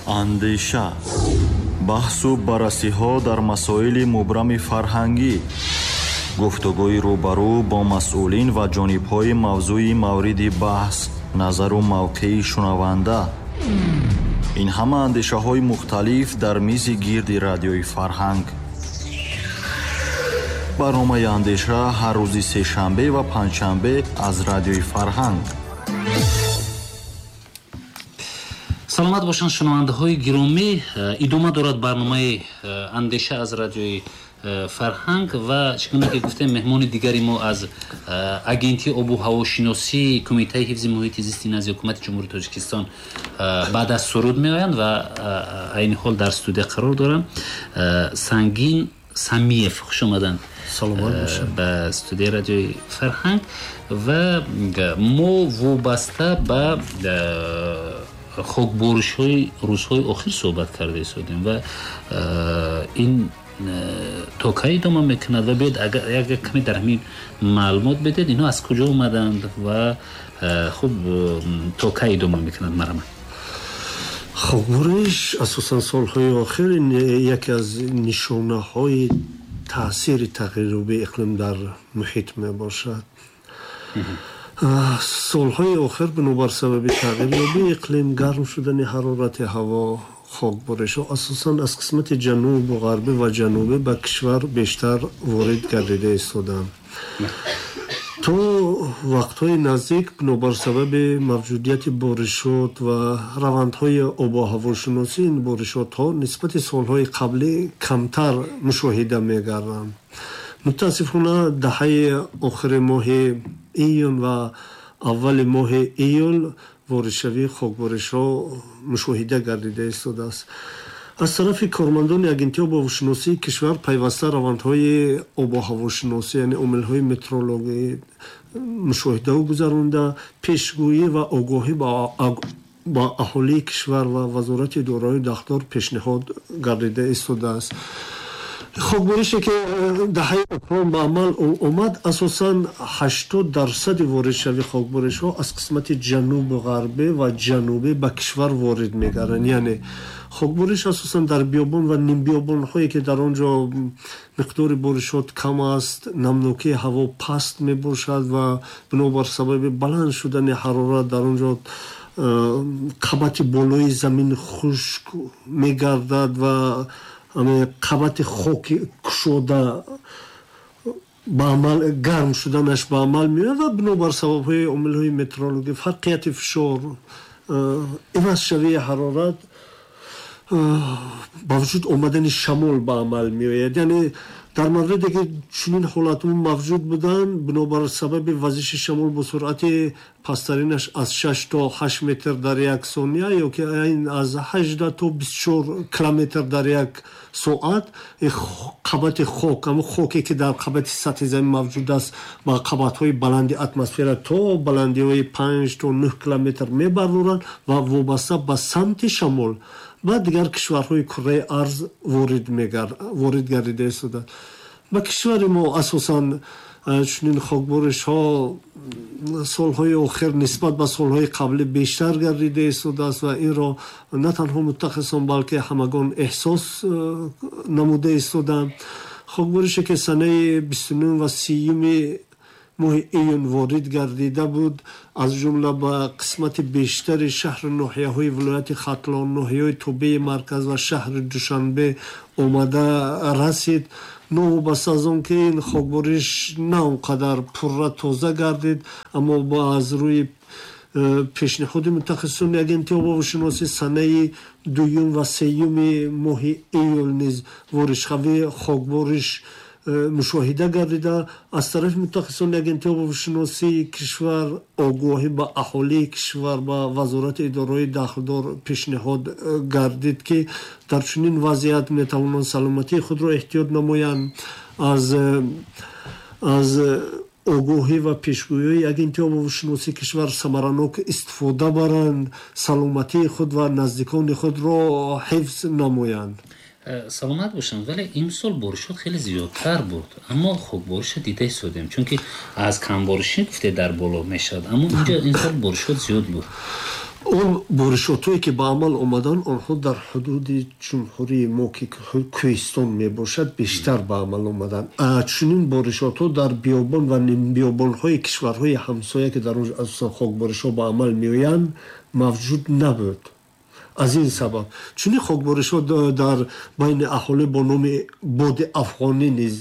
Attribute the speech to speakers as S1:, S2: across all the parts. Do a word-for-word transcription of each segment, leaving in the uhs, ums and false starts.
S1: Андеша, баҳсу баррасиҳо дар масоили мубрами фарҳангӣ, гуфтугӯи рӯбарӯ бо масъулин ва ҷонибҳои мавзӯи мавриди баҳс, назару мавқеи шунаванда. Ин ҳама андешаҳои мухталиф дар мизи гирди радиои Фарҳанг. Барномаи Андеша ҳар рӯзи сешанбе ва панҷшанбе аз радиои Фарҳанг.
S2: Саломат бошанд шунавандаҳои гиромӣ. Идома дорад барномаи Андеша аз радиои Фарҳанг ва чӣ гуна ки гуфтем, меҳмони дигари мо аз Агентии обу ҳавошиносии Кумитаи ҳифзи муҳити зисти назди Ҳукумати Ҷумҳурии Тоҷикистон баъд аз суруд меоянд ва айни ҳол дар студия қарор доранд. Сангин Самиев, хуш омаданд ба студияи радиои Фарҳанг. Ва мо вобаста ба хокборишҳои рӯзҳои охир суҳбат карда истодем ва ин то кай идома мекунад ва биёед агар як каме дар ҳамин маълумот бидед, инҳо аз куҷо омаданд ва хуб то кай идома мекунад марҳамат.
S3: Хокбориш асосан солҳои охир яке аз нишонаҳои таъсири тағйирёбии иқлим дар муҳит мебошад. Солҳои охир бинобар сабаби тағйирёбии иқлим, гарм шудани ҳарорати ҳаво, хокборишҳо асосан аз қисмати ҷанубу ғарбӣ ва ҷанубӣ ба кишвар бештар ворид гардида истоданд. То вақтҳои наздик бинобар сабаби мавҷудияти боришот ва равандҳои обу ҳавошиносӣ ин боришотҳо нисбати солҳои қаблӣ камтар мушоҳида мегарданд. Мутаассифона, даҳаи охири моҳи июн ва аввали моҳи июл воридшавии хокборишҳо мушоҳида гардида истодааст. Аз тарафи кормандони Агентии обуҳавошиносии кишвар пайваста равандҳои обуҳавошиносӣ, яъне омилҳои метеорологӣ мушоҳидаҳо гузаронда, пешгӯӣ ва огоҳӣ ба аҳолии кишвар ва вазорати идораҳои дахлдор пешниҳод гардида истодааст. Хокборише ки даҳаи охирон ба амал омад, асосан ҳаштод дарсади воридшавии хокборишҳо аз қисмати ҷанубу ғарбӣ ва ҷанубӣ ба кишвар ворид мегарданд. Яъне хокбориш асосан дар биёбон ва нимбиёбонҳое ки дар он ҷо миқдори боришот кам аст, намнокии ҳаво паст мебошад ва бинобар сабаби баланд шудани ҳарорат дар он ҷо қабати болои замин хушк мегардад ва қабати хоки кушода ба амал гарм шуданаш ба амал меояд ва бинобар сабабҳои омилҳои метеорологӣ, фарқияти фишор, ивазшавии ҳарорат, ба вуҷуд омадани шамол ба амал меояд. Яъне дар мавриде ки чунин ҳолатҳо мавҷуд буданд, бинобар сабаби вазиши шамол бо суръати пасттаринаш аз шаш то ҳашт метр дар як сония ё ки аз ҳаждаҳ то бисту чор километр дар як соат, қабати хок, ҳамон хоке ки дар қабати сатҳи замин мавҷуд аст, ба қабатҳои баланди атмосфера то баландиҳои панҷ то нӯҳ километр мебардоранд ва вобаста ба самти шамол ба дигар кишварҳои кураи арз ворид ворид гардида истоданд. Ба кишвари мо асосан чунин хокборишҳо солҳои охир нисбат ба солҳои қаблӣ бештар гардида истодааст ва инро на танҳо мутахассисон, балки ҳамагон эҳсос намуда истоданд. Хокборише ки санаи бисту нӯҳ ва сиюми моҳи июн ворид гардида буд, аз ҷумла ба қисмати бештари шаҳру ноҳияҳои вилояти Хатлон, ноҳияҳои тобеи марказ ва шаҳри Душанбе омада расид. Новобаста аз он ки ин хокбориш на он қадар пурра тоза гардид, аммо аз рӯи пешниҳоди мутахассисони Агентии обуҳавошиносӣ санаи дуюм ва сеюми моҳи июл низ воридшавии хокбориш мушоҳида гардида. Аз тарафи мутахассисони Агентии обуҳавошиносии кишвар огоҳӣ ба аҳолии кишвар, ба вазорати идораҳои дахлдор пешниҳод гардид, ки дар чунин вазъият метавонанд саломатии худро эҳтиёт намоянд, аз аз огоҳӣ ва пешгӯиҳои Агентии обуҳавошиносии кишвар самаранок истифода баранд, саломатии худ ва наздикони худро ҳифз намоянд.
S2: Саломат бошанд, вале имсол боришот хеле зиёдтар буд, аммо хокбориша дида истодем, чунки аз камборишӣ гуфте дар боло мешавад, аммо инҷо имсол боришот зиёд буд.
S3: Он боришотҳое ки ба амал омаданд, онҳо дар ҳудуди ҷумҳурии мо, ки кӯҳистон мебошад, бештар ба амал омаданд. Чунин боришотҳо дар биёбон ва нимбиёбонҳои кишварҳои ҳамсоя, ки дар он асосан хокборишҳо ба амал меоянд, мавҷуд набуд. Аз ин сабаб чунин хокборишҳо дар байни аҳолӣ бо номи боди афғонӣ низ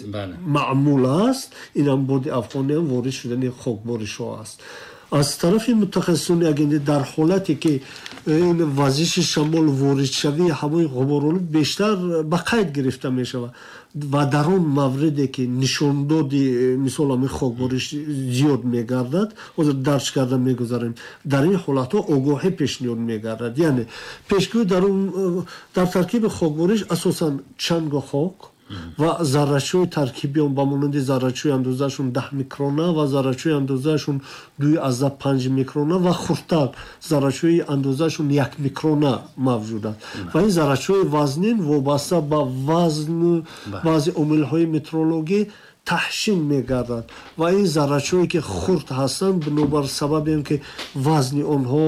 S3: маъмул аст. Инам боди афғониам ворид шудани хокборишҳо аст. Аз тарафи мутахассисони агентӣ, дар ҳолате ки ин вазиши шамол, воридшавии ҳавои ғуборолуд бештар ба қайд гирифта мешавад ва дар он мавриде ки нишондоди, мисол, ҳамин хокбориш зиёд мегардад, ҳозир дарҷ карда мегузарем, дар ин ҳолатҳо огоҳӣ пешниҳод мегардад. Яъне пешгӯӣ дар он дар таркиби хокбориш асосан чангу хок ва заррачаҳои таркиби он, ба монанди заррачаҳои андозаашон даҳ микрона ва заррачаҳои андозаашон дуи азда панҷ микрона ва хурдтар заррачаҳои андозаашон як микрона мавҷуд аст. Ва ин заррачаҳои вазнин вобаста ба вазну баъзе омилҳои метеорологӣ таҳшин мегардад ва ин заррачаҳое ки хурд ҳастанд, бинобар сабаби он ки вазни онҳо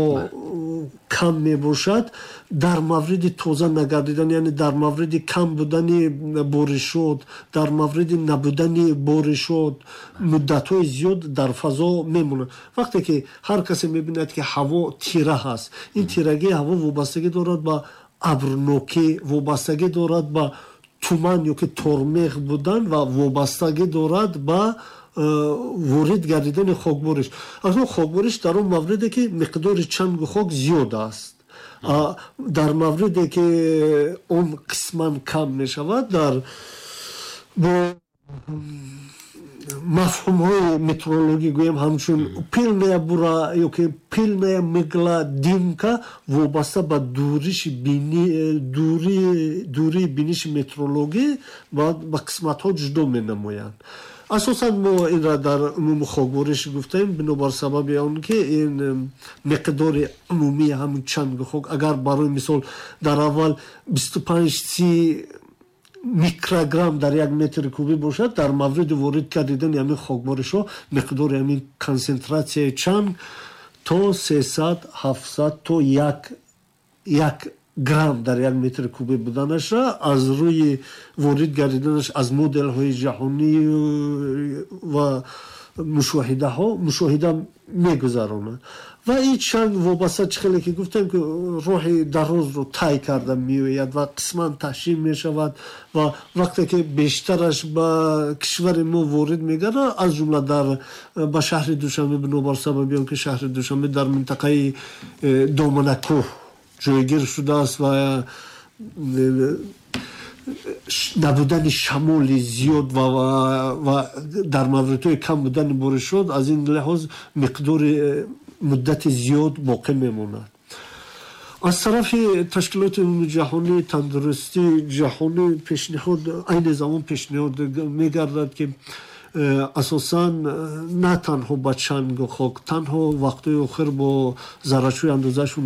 S3: кам мебошад, дар мавриди тоза нагардидан, яъне дар мавриди кам будани боришот, дар мавриди набудани боришот, муддатҳои зиёд дар фазо мемонад. Вақте ки ҳар касе мебинад, ки ҳаво тира ҳаст, ин тирагии ҳаво вобастагӣ дорад ба абрнокӣ, вобастагӣ дорад ба туман ё ки тормеғ будан ва вобастагӣ дорад ба э, ворид гардидани хокбориш. Акнун хокбориш дар он мавриде ки миқдори чангу хок зиёд аст, дар мавриде ки он қисман кам мешавад, дар бо мафҳумҳои метеорологӣ гӯем, ҳамчун пыльная буря ё ки пыльная мгла, дымка, вобаста ба дуриши дурии биниши метеорологӣ ба қисматҳо ҷудо менамоянд. Асосан мо инра дар умуми хокбориш гуфтаем, бинобар сабаби он ки ин миқдори умумии ҳамин чангу хок, агар барои мисол дар аввал бисту панҷ си микрограмм дар як метри кубӣ бошад, дар мавриди ворид кардидани ҳамин хокборишҳо миқдори ҳамин консентратсияи чанг то сесад, ҳафтсад то як як грамм дар як метри кубӣ буданашра аз рӯи ворид гардиданаш аз моделҳои ҷаҳонӣ ва мушоҳидаҳо мушоҳида мегузаронад. Ва ин чанг вобаста, чӣ хеле ки гуфтем, ки роҳи дарозро тай карда меояд ва қисман таҳшин мешавад ва вақте ки бештараш ба кишвари мо ворид мегардад, аз ҷумла дар ба шаҳри Душанбе, бинобар сабаби он ки шаҳри Душанбе дар минтақаи э, доманакӯҳ ҷойгир шудааст ва э, набудани шамоли зиёд ва, ва дар мавридҳои кам будани боришот, аз ин лиҳоз миқдори э, муддати зиёд боқӣ мемонад. Аз тарафи ташкилоти умумиҷаҳонии тандурустии ҷаҳонӣ пешниҳод, айни замон пешниҳод мегардад, ки э, асосан э, на танҳо ба чангу хок, танҳо вақтҳои охир бо заррачаҳои андозаашон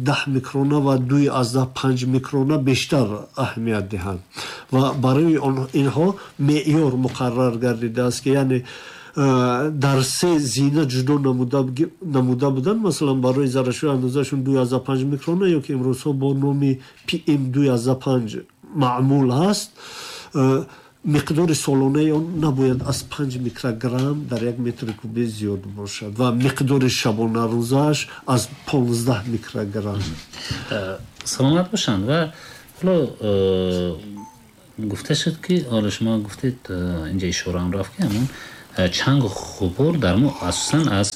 S3: даҳ микрона ва дуи аздаҳ панҷ микрона бештар аҳамият диҳанд ва барои инҳо меъёр муқаррар гардидааст, ки яъне дар се зина ҷудо намуда буданд. Масалан, барои заррачаҳои андозаашон дуи аздаҳ панҷ микрона ё ки имрӯзҳо бо номи P M дуи аздаҳ панҷ маъмул ҳаст, миқдори солонаи он набояд аз панҷ микрограмм дар як метри кубӣ зиёд бошад ва миқдори шабонарӯзааш аз понздаҳ микрограмм.
S2: Саломат бошанд. Ва ҳоло гуфта шуд, ки ҳоло шумо гуфтед, инҷа ишораам рафт, ки ҳамон чангу ғубор дар мо асосан аз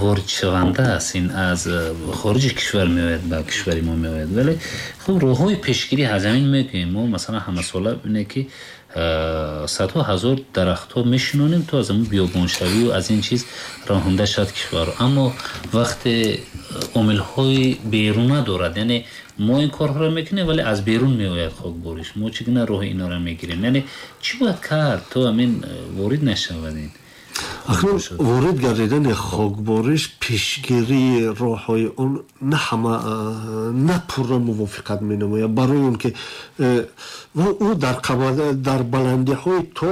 S2: воридшаванда аст, ин аз хориҷи кишвар меояд, ба кишвари мо меояд. Вале хуб, роҳҳои пешгирӣ аз ҳамин мегӯем. Мо масалан ҳамасола бинед, ки садҳо ҳазор дарахтҳо мешинонем, то аз ҳамин биёбоншавию аз ин чиз роҳонда шавад кишварро. Аммо вақте омилҳои беруна дорад, яъне мо ин корҳоро мекунем, вале аз берун меояд хокбориш, мо чӣ гуна роҳи инора мегирем? Яъне чӣ бояд кард, то ҳамин ворид нашавад ин?
S3: Акнун ворид гардидани хокбориш, пешгирии роҳҳои он на ҳама, на пурра мувофиқат менамояд, барои он ки ӯ дар баландиҳои то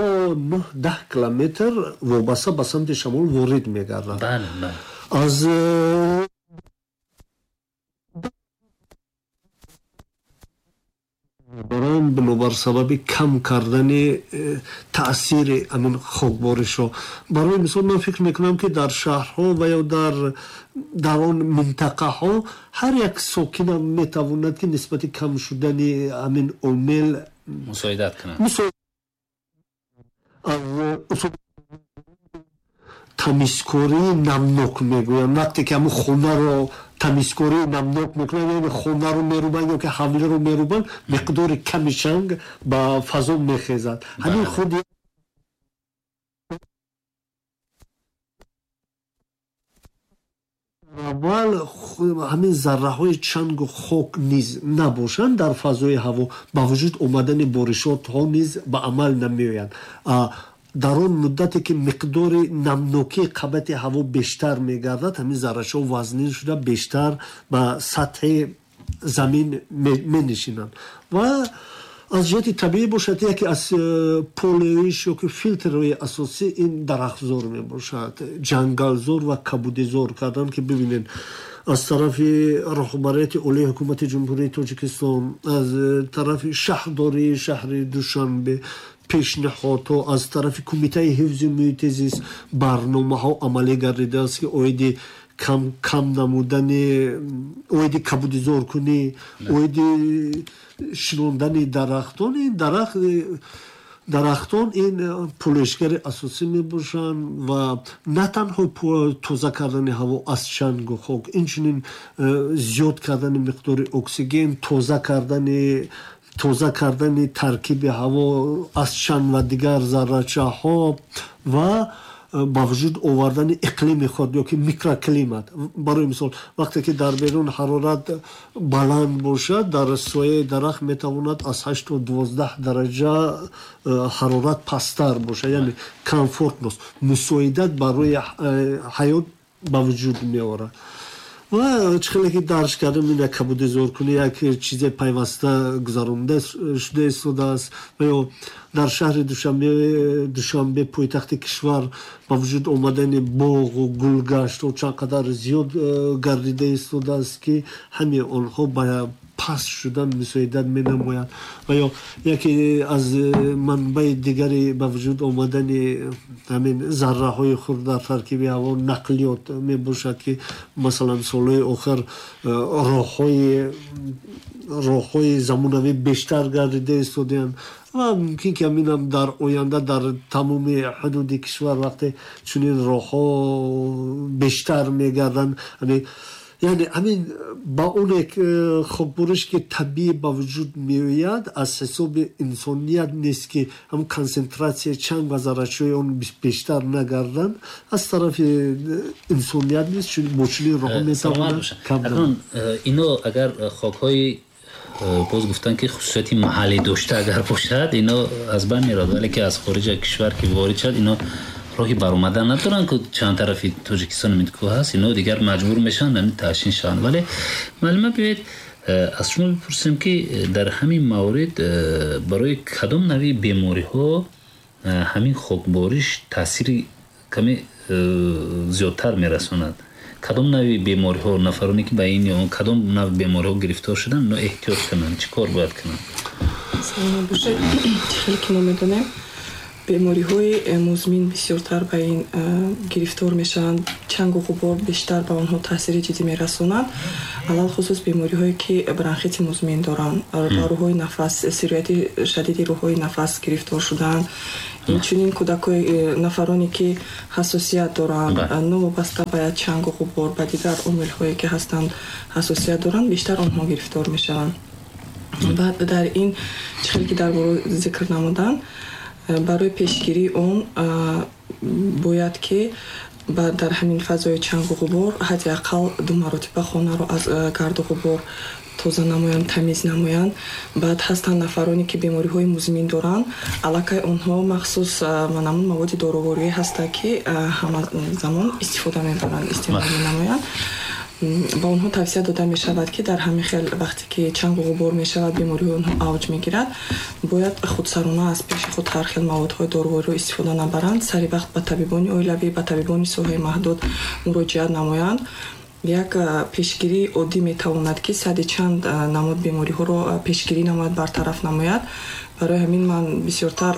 S3: нӯҳ даҳ километр вобаста ба самти шамол ворид мегардад. Аз мекунанд бинобар сабаби кам кардани таъсири ҳамин хокборишҳо. Барои мисол ман фикр мекунам, ки дар шаҳрҳо ва ё дар дар он минтақаҳо ҳар як сокинам метавонад, ки нисбати кам шудани ҳамин омил
S2: мусоидат кунад.
S3: Тамизкории намнок мегӯянд. Вақте ки ҳамун хонаро тамизкории намнок мекунанд, яъне хонаро мерубанд ё ки ҳавлиро мерубанд, миқдори ками чанг ба фазо мехезад. Ҳамин худ аввал ҳамин зарраҳои чангу хок низ набошанд дар фазои ҳаво, ба вуҷуд омадани боришотҳо низ ба амал намеоянд. Дар он муддате ки миқдори намнокии қабати ҳаво бештар мегардад, ҳамин заррачаҳо вазнин шуда бештар ба сатҳи замин менишинанд. Ва аз ҷиҳати табиӣ бошад, яке аз полоиш ё ки филтрҳои асосӣ ин дарахтзор мебошад, ҷангалзор ва кабудизор кардан, ки бибинед аз тарафи роҳбарияти олии ҳукумати Ҷумҳурии Тоҷикистон, аз тарафи шаҳрдории шаҳри Душанбе пешниҳодҳо, аз тарафи Кумитаи ҳифзи муҳити зист барномаҳо амалӣ гардидааст, ки оиди кам кам намудани, оиди кабудизоркунӣ, оиди шинондани дарахтон. Ин дарахт дарахтон ин полоишгари асосӣ мебошанд ва на танҳо тоза кардани ҳаво аз чангу хок, инчунин зиёд кардани миқдори оксиген, тоза кардани тоза кардани таркиби ҳаво аз чанг ва дигар заррачаҳо ва ба вуҷуд овардани иқлими худ ё ки микроклимат. Барои мисол, вақте ки дар берун ҳарорат баланд бошад, дар сояи дарахт метавонад аз ҳашт то дувоздаҳ дараҷа ҳарорат пасттар бошад, яъне комфортност, мусоидат барои ҳаёт ба вуҷуд меорад. Ва чӣ хеле ки дарҷ кардем, ин як кабудизоркунӣ як чизе пайваста гузаронида шуда истодааст. Ва ё дар шаҳри Душанбе, Душанбе пойтахти кишвар, ба вуҷуд омадани боғу гулгаштҳо чанд қадар зиёд гардида истодааст, ки ҳамаи онҳо ба паст шудан мусоидат менамоянд. Ва ё яке аз манбаи дигари ба вуҷуд омадани ҳамин зарраҳои хурд дар таркиби ҳаво нақлиёт мебошад, ки масалан солҳои охир роҳҳои роҳҳои замонавӣ бештар гардида истодаанд ва мумкин ки ҳаминам дар оянда дар тамоми ҳудуди кишвар вақте чунин роҳҳо бештар мегарданд, яъне ҳамин ба он як хокбориш ки табиӣ ба вуҷуд меояд, аз ҳисоби инсоният нест, ки ҳамн консентратсияи чанг ва заррачаҳои он бештар нагарданд, аз тарафи инсоният нест, чун бо чунин роҳҳо метавонад кам.
S2: Акнун ино агар хокҳои боз гуфтанд, ки хусусияти маҳаллӣ дошта агар бошад, ино аз байн меравад, вале ки аз хориҷа кишвар ки ворид шавад, ино роҳи баромадан надоранд, ки чанд тарафи Тоҷикистон кӯҳ ҳаст, ино дигар маҷбур мешаванд ҳамин таъшин шаванд. Вале муаллима, биёед аз шумо бипурсем, ки дар ҳамин маврид барои кадом навъи бемориҳо ҳамин хокбориш таъсири каме зиёдтар мерасонад? Кадом навъи бемориҳо, нафароне ки ба ин ё он кадом навъ бемориҳо гирифтор шуданд, ино эҳтиёт кунанд, чӣ кор бояд кунанд?
S4: Саломат бошед. Чӣ хеле ки мо медонем, бемориҳои музмин бисёртар ба ин гирифтор мешаванд, чангу ғубор бештар ба онҳо таъсири ҷиддӣ мерасонанд, алалхусус бемориҳое ки бронхити музмин доранд, ба рӯҳҳои нафас, сирояти шадиди рӯҳҳои нафас гирифтор шудаанд. Инчунин кӯдакои нафароне ки ҳассосият доранд, новобаста ба чангу ғубор, ба дигар омилҳое ки ҳастанд ҳассосият доранд, бештар онҳо гирифтор мешаванд. Баъд дар ин чӣ хеле ки дар боло зикр намуданд, барои пешгирии он бояд ки дар ҳамин фазои чангу ғубор ҳадди ақал ду маротиба хонаро аз гарду ғубор тоза намоянд, тамиз намоянд. Баъд ҳастанд нафароне ки бемориҳои музмин доранд, аллакай онҳо махсус манамун маводи доруворӣ ҳастанд, ки ҳама замон истифода мебаранд, истеъмол менамоянд. Ба онҳо тавсия дода мешавад, ки дар ҳамин хел вақте ки чангу ғубор мешавад, бемориҳои онҳо авҷ мегирад, бояд худсарона аз пеши худ ҳар хел маводҳои дорувориро истифода набаранд, сари вақт ба табибони оилавӣ, ба табибони соҳаи маҳдуд муроҷиат намоянд. Як пешгирии оддӣ метавонад, ки сади чанд намуд бемориҳоро пешгирӣ намояд, бартараф намояд. Барои ҳамин ман бисёртар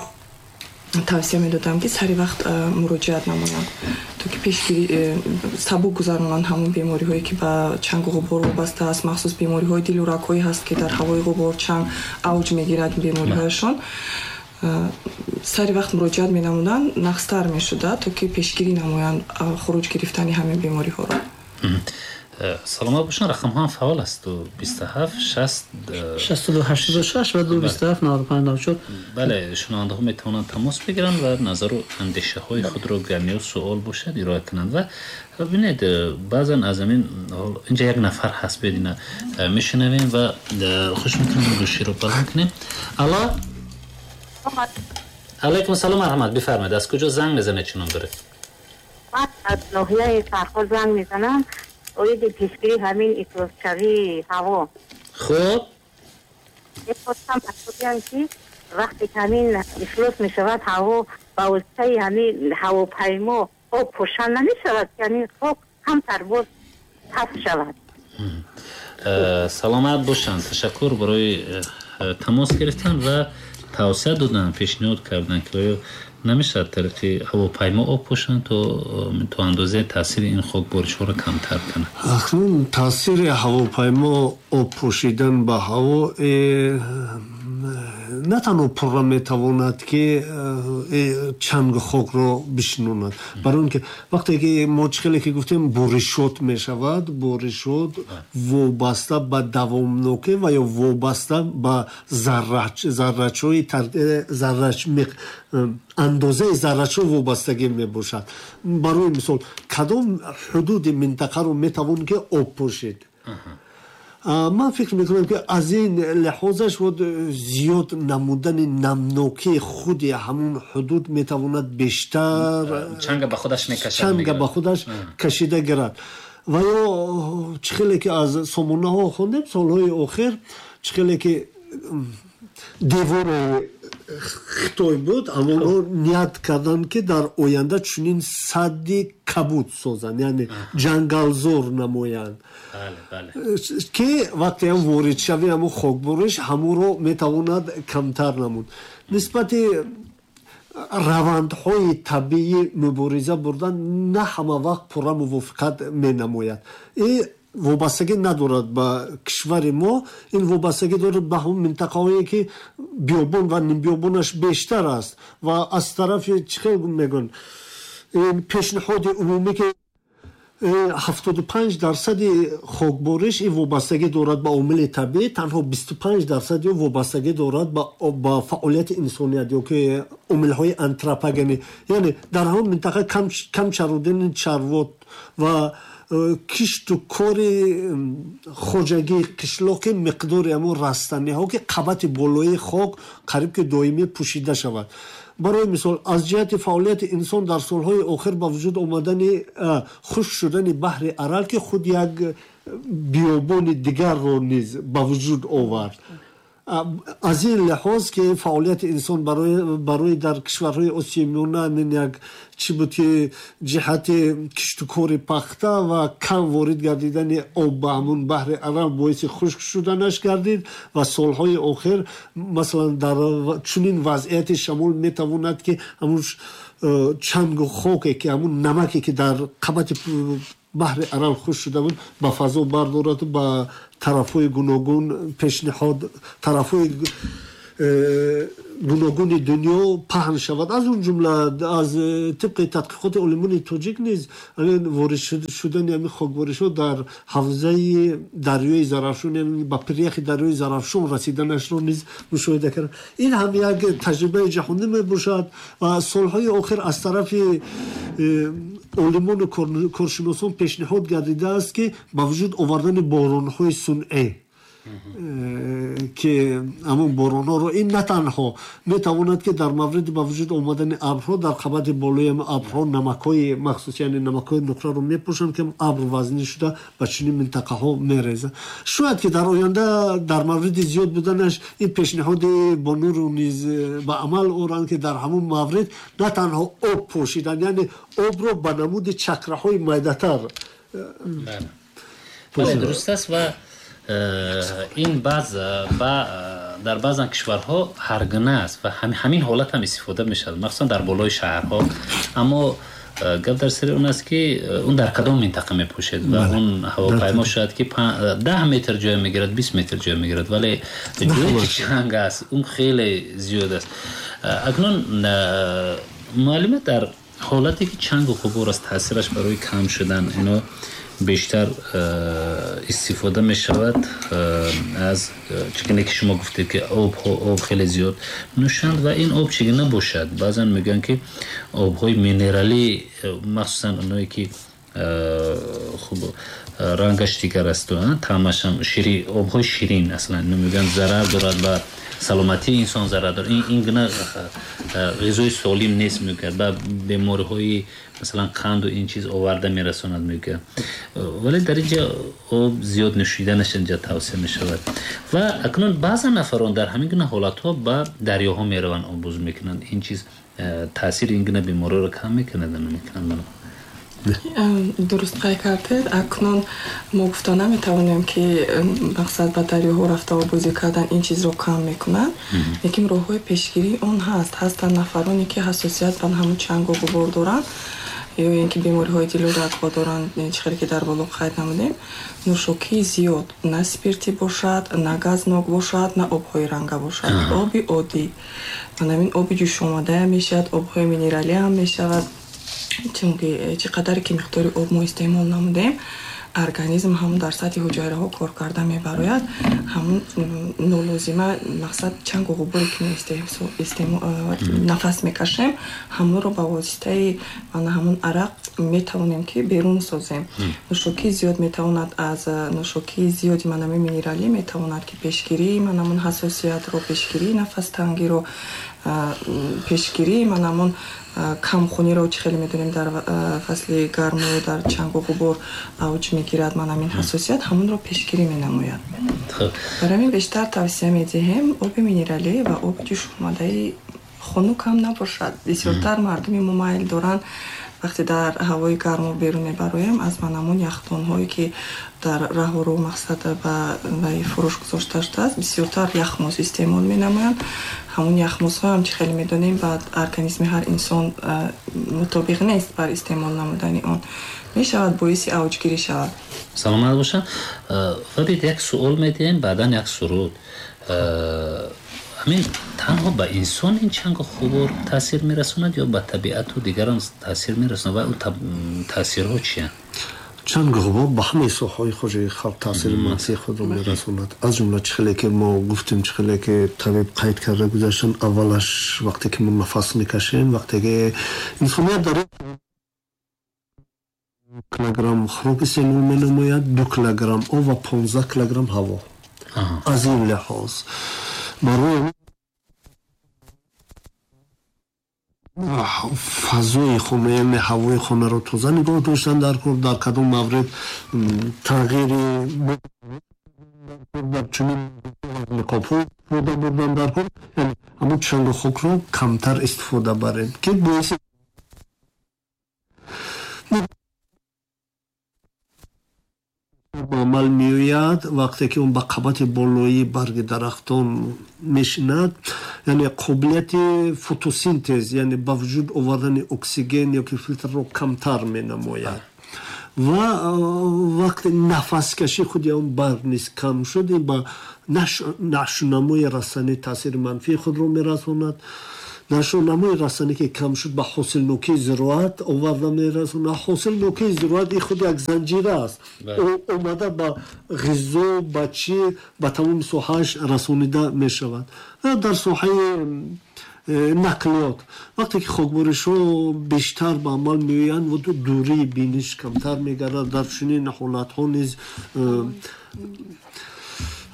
S4: тавсия медодам, ки сари вақт муроҷиат намоянд, то ки пешгирӣ сабук гузаронанд ҳамон бемориҳое, ки ба чангу ғубор вобаста аст. Махсус бемориҳои дилу рагҳое ҳаст, ки дар ҳавои ғубор, чанг авҷ мегирад бемориҳояшон. Сари вақт муроҷиат менамуданд, нағзтар мешуда, то ки пешгирӣ намоянд хуруҷ гирифтани ҳамин бемориҳоро.
S2: Саломат бошанд. Рақамҳо ҳам фаъол аст: ду бисту ҳафт шаст
S5: шасту ду ҳаштоду шаш ва ду бисту ҳафт наваду панҷ наваду чор.
S2: Бале, шунавандаҳо метавонанд тамос бигиранд ва назару андешаҳои худро, гар суол бошад, ироа кунанд. Ва бинед, баъзан аз ҳамин инҷа як нафар ҳаст, биёд ина мешунавем ва хуш мекунем, гӯширо баланд кунем. Алло, алайкум салом, марҳамат, бифармоед, аз куҷо занг мезанед, чӣ ном доред?
S6: Ман аз ноҳияи Фархор занг мезанам, оиди пешгирии ҳамин ифлосшавии ҳаво.
S2: Хуб.
S6: Мехостам бигӯям, ки вақте ки ҳамин ифлос мешавад ҳаво, ба воситаи ҳамин ҳавопаймо об пошан намешавад, ки ҳамин хок камтар боз паст шавад?
S2: Саломат бошанд. Ташаккур барои э, тамос гирифтан ва тавсия додан, пешниҳод кардан, ки оё намешавад тариқи ҳавопаймо об пошанд, то то андозаи таъсири ин хокборишҳоро камтар кунад.
S3: Акнун таъсири ҳавопаймо об пошидан ба ҳаво э, на танҳо пурра метавонад, ки э, чангу хокро бишинонад, барои он ки вақте ки мо, чӣ хеле ки гуфтем, боришот мешавад, боришот вобаста ба давомнокӣ ва ё вобаста ба заррачҳои э, заррач, андозаи заррачҳо вобастагӣ мебошад. Барои мисол, кадом ҳудуди минтақаро метавон ки об пошид? Ман фикр мекунам, ки аз ин лиҳозаш зиёд намудани намнокии худи ҳамун ҳудуд метавонад бештар
S2: чанга ба худаш мекашад.
S3: Чанга ба худаш кашида гирад. Ва ё чӣ хеле ки аз сомонаҳо хондем, солҳои охир, чӣ хеле ки девори Хитой буд, ҳамонҳо ният карданд, ки дар оянда чунин садди кабуд созанд, яъне ҷангалзор намоянд, ки вақте ҳам воридшави ҳамун хокбориш ҳамонро метавонад камтар намуд. Нисбати равандҳои табиӣ мубориза бурдан на ҳама вақт пурра мувофиқат менамояд. Вобастагӣ надорад ба кишвари мо, ин вобастагӣ дорад ба ҳамон минтақаҳое, ки биёбон ва нимбиёбонаш бештар аст. Ва аз тарафи, чӣ хел мегӯянд, пешниҳоди умумӣ, ки ҳафтоду панҷ дарсади хокбориш ин вобастагӣ дорад ба омили табиӣ, танҳо бисту панҷ дарсади вобастагӣ дорад ба фаъолияти инсоният ё ки омилҳои антропогенӣ, яъне дар ҳамон минтақа кам чародани чарво ва э, кишту кори хоҷагии қишлоқи, миқдори ҳамон растаниҳо, ки қабати болои хок қариб ки доимӣ пӯшида шавад. Барои мисол, аз ҷиҳати фаъолияти инсон дар солҳои охир ба вуҷуд омадани хушк шудани баҳри Арал, ки худ як биёбони дигарро низ ба вуҷуд овард. Аз ин лиҳоз, ки фаъолияти инсон барои дар кишварҳои Осиёи Миёна ин як чӣ буд, ки ҷиҳати киштукори пахта ва кам ворид гардидани об ба ҳамун баҳри Арал боиси хушк шуданаш гардид. Ва солҳои охир, масалан, дар чунин вазъияти шамол метавонад, ки ҳамун э, чангу хоке, ки ҳамун намаке, ки дар қабати баҳри Арал хушк шуда буд, ба фазо бардораду ба тарафҳои гуногун пешниҳод, тарафҳои э, гуногуни дунё паҳн шавад. Аз он ҷумла, аз тибқи тадқиқоти олимони тоҷик низ, ворид шудани ҳамин хокборишҳо дар ҳавзаи дарёи Зарафшон, ба пиряхи дарёи Зарафшон расиданашро низ мушоҳида кард. Ин ҳам як таҷрибаи ҷаҳонӣ мебошад. Ва солҳои охир аз тарафи э, олимону коршиносон пешниҳод гардидааст, ки ба вуҷуд овардани боронҳои сунъӣ, ки ҳамон боронҳоро ин на танҳо метавонад, ки дар мавриди ба вуҷуд омадани абрҳо дар қабати болои абрҳо намакҳои махсус, яъне намакҳои нуқраро мепӯшанд, ки абр вазнӣ шуда ба чунин минтақаҳо мерезад. Шояд ки дар оянда дар мавриди зиёд буданаш ин пешниҳоди бонуру низ ба амал оранд, ки дар ҳамон маврид на танҳо об пошидан, яъне обро ба намуди чакраҳои майдатар
S2: Дуруст аст ва ин баъз дар баъзан кишварҳо ҳаргуна аст ва ҳамин ҳолат ҳам истифода мешавад, махсусан дар болои шаҳрҳо. Аммо гап дар сари он аст ки он дар кадом минтақа мепӯшед ва он ҳавопаймо шояд ки даҳ метр ҷой мегирад, бист метр ҷой мегирад, вале ҷое ки чанг аст он хеле зиёд аст. Акнун муаллима, дар ҳолате ки чангу ғубор аст, таъсираш барои кам шудан ино бештар истифода мешавад аз чигуна ки шумо гуфтед ки об об хеле зиёд нӯшанд ва ин об чигуна бошад. Баъзан мегӯянд ки обҳои минералӣ, махсусан оное ки хуб рангаш дигар аст, таъмаш ҳам шири, обҳои ширин аслан ино мегӯянд зарар дорад ба саломатии инсон, зарар дорад. Ин гуна ғизои солим нест мегӯяд, ба бемориҳои масалан қанду ин чиз оварда мерасонад мегӯяд. Вале дар инҷа об зиёд нӯшиданаш инҷа тавсия мешавад. Ва акнун баъзан нафарон дар ҳамин гуна ҳолатҳо ба дарёҳо мераванд, оббоз мекунанд. Ин чиз таъсири ин гуна бемориро кам мекунад ё намекунад?
S4: Дуруст қайд кардед. Акнун мо гуфта наметавонем ки мақсад ба дарёҳо рафта оббозӣ кардан ин чизро кам мекунад, лекин роҳҳои пешгирии он ҳаст. Ҳастанд нафароне ки ҳассосият ба ҳамун чангу ғубор доранд ё ин ки бемориҳои дилу рагҳо доранд, чӣ хеле ки дар боло қайд намудем. Нӯшокии зиёд, на спиртӣ бошад, на газнок бошад, на обҳои ранга бошад, оби оддӣ. Ҳамин оби ҷӯшомадаам мешавад, обҳои минералиам мешавад. Чунки чӣ қадаре ки миқдори об мо истеъмол намудем, организм ҳамун дар сатҳи ҳуҷайраҳо кор карда мебарояд. Ҳамун нолозима мақсад чангу ғуборе ки мо нафас мекашем, ҳамонро ба воситаи ҳамун арақ метавонем ки берун созем. Нӯшокии зиёд метавонад аз нӯшокии зиёди манами минералӣ метавонад ки пешгирии манамун ҳассосиятро, пешгирии нафастангиро, пешгирии манамун камхуниро, чӣ хеле медонем дар фасли гарму дар чангу ғубор авҷ мегирад манамин ҳассосият, ҳамонро пешгирӣ менамояд. Барои ҳамин бештар тавсия медиҳем оби минералӣ ва оби ҷӯшомадаи хунук ҳам набошад. Бисёртар мардуми мо майл доранд вақте дар ҳавои гарму берун мебароем, аз манамун яхдонҳое ки дар раҳу мақсад ба фурӯш гузошта шудааст, бисёртар яхмоз истеъмол менамоянд. Ҳамун яхмозҳо ҳам чӣ хеле медонем ба организми ҳар инсон мутобиқ нест бар истеъмол намудани он, мешавад боиси авҷгирӣ шавад.
S2: Саломат бошанд. Ва бид як суол медиҳем, баъдан як суруд. Ҳамин танҳо ба инсон ин чангу ғубор таъсир мерасонад ё ба табиату дигарам таъсир мерасонад ва он таъсирҳо чиянд?
S3: Чангу ғубор ба ҳамаи соҳаҳои хоҷагии халқ таъсири манфии худро мерасонад. Аз ҷумла чӣ хеле ки мо гуфтем, чӣ хеле ки табиб қайд карда гузаштанд, аввалаш вақте ки мо нафас мекашем, вақте ки инсоният дар килограмм хӯрок истеъмол менамояд, ду килограмм об ва понздаҳ килограмм ҳаво. Аз ин лиҳоз барои фазои хона, яъне ҳавои хонаро тоза нигоҳ доштан дар кор, дар кадом маврид тағйири дар чунин ниқобҳо истифода бурдан дар кор, яъне ҳамон чангу хокро камтар истифода барем, ки боиси ба амал меояд вақте ки он ба қабати болоии барги дарахтон мешинад, яъне қобилияти фотосинтез, яъне ба вуҷуд овардани оксиген ё ки филтрро камтар менамояд. Ва вақте нафаскашӣ худи он барг низ кам шуд, ин ба нашъунамои растанӣ таъсири манфии худро мерасонад. Нашъунамои растанӣ ки кам шуд, ба ҳосилнокии зироат оварда мерасонад. Ҳосилнокии зироат ин худ як занҷира аст, омада ба ғизо, ба чӣ, ба тамоми соҳааш расонида мешавад. Дар соҳаи нақлиёт вақте ки хокборишҳо бештар ба амал меоянд ва дурии биниш камтар мегардад, дар чунин ҳолатҳо низ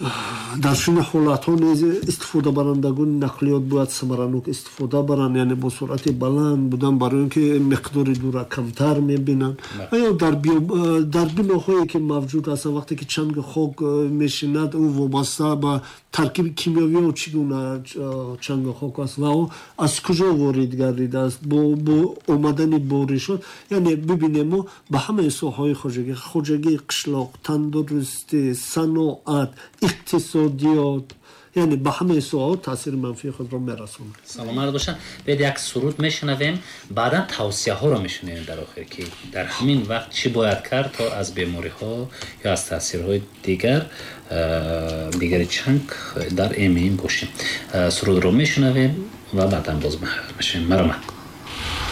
S3: Дар чунин ҳолатҳо низ истифодабарандагони нақлиёт бояд самаранок истифода баранд, яъне бо суръати баланд будан, барои он ки миқдори дура камтар мебинанд. Ва ё дар биноҳое ки мавҷуд ҳастанд, вақте ки чанги хок мешинад, ӯ вобаста ба таркиби кимиёвио чӣ гуна чанги хок аст ва ӯ аз куҷо ворид гардидааст бо омадани боришот. Яъне бибинем, мо ба ҳамаи соҳаҳои хоҷагӣ, хоҷагии қишлоқ, тандурустӣ, саноат, иқтисодиёт, яъне ба ҳамаи соҳаҳо таъсири манфии худро мерасонад.
S2: Саломат бошанд. Биёед, як суруд мешунавем, баъдан тавсияҳоро мешунавем дар охир, ки дар ҳамин вақт чӣ бояд кард, то аз бемориҳо ё аз таъсирҳои дигар дигари чанг дар эмин бошем. Сурудро мешунавем ва баъдан боз мешавем. Марҳамат.